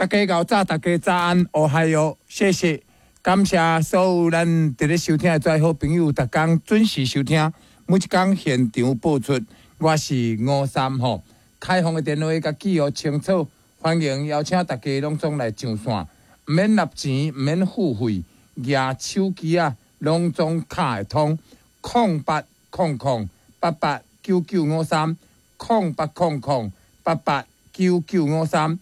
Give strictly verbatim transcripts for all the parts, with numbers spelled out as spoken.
大家𠢕早，大家早安，おはよう，謝謝，感謝所有咱佇咧收聽的遮好朋友，逐工準時收聽，每一工現場播出。我是吳三吼，開放的電話共記予清楚，歡迎邀請大家攏總來上線，毋免納錢，毋免付費，舉手機仔，攏總敲會通，空八空空八八九九五三，空八空空八八九九五三。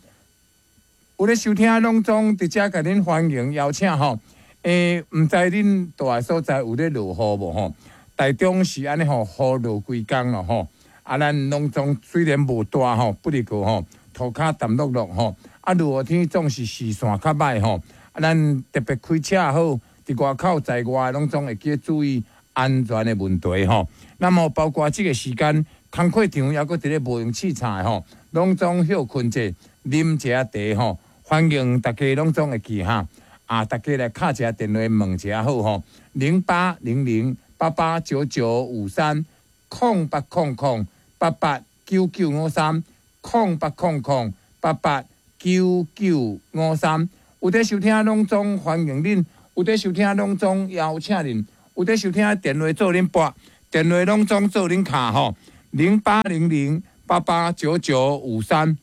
有咧收聽，攏總佇遮共恁歡迎邀請吼。欸，毋知恁蹛的所在有咧落雨無吼？台中是按呢吼，雨落規工咯吼。啊，咱攏總雖然無大吼，不過吼，塗跤澹漉漉吼。啊，落雨天總是視線較䆀吼。啊，咱特別開車也好，佇外口在外攏總會記注意安全的問題吼。那麼包括這個時間，工課場猶閣佇咧無閒凊彩吼，攏總歇睏者，啉一下茶吼。歡迎大家攏總會記哈，啊，大家來敲一下電話問一下好吼，零八零零八八九九五三，空八空空八八九九五三，空八空空八八九九五三，有佇收聽攏總歡迎恁，有佇收聽攏總邀請恁，有佇收聽電話做恁撥，電話攏總做恁敲吼，零八零零八八九九五三。